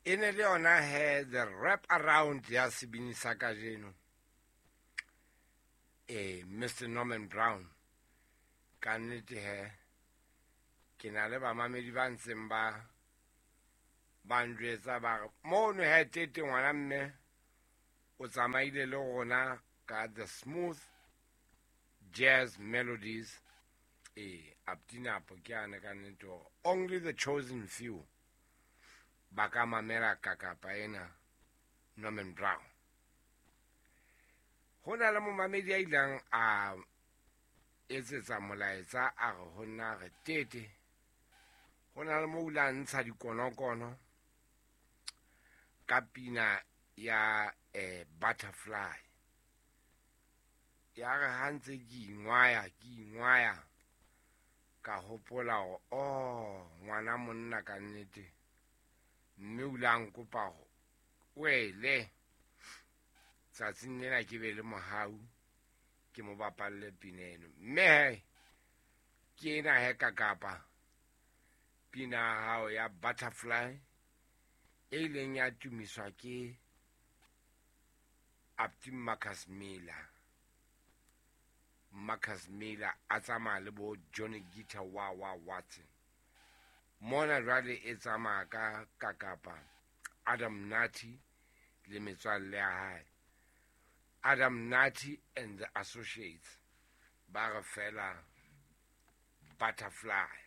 E ne le yona he the wrap around ya sebini sa kajeno, Mr Norman Brown. Ka nnete he ke na le bamamedi ba ntseng ba njwetsa ba re mono he tete ngwana mme o tsamaile le rona ka the smooth jazz melodies. Aptinapo ke ane ka nnete hore only the chosen few ba ka mamela kakapa ena Norman Brown. Ho na le momamedi a ileng a etsetsa molaetsa a re ho nna re tete ho na le mo o ile a ntsha dikonokono ka pina ya Butterfly. Ya re ha ntse ke ingwaya ka hopola hore oh ngwana monna ka nnete, mme o ile a nkopa hore wele tsatsing lena ke be le mohau ke mo bapalle pina eno. Mme he ke ena he kakapa pina ya hao ya Butterfly e ileng ya tumiswa ke Apti Marcus Miller. Marcus Miller a tsamaya le bo Johnny Guitar wa Watson. Mona jwale e tsamaya ka kakapa Adam Nati le metswalle ya hae. Adam Nati and the Associates ba re fela Butterfly.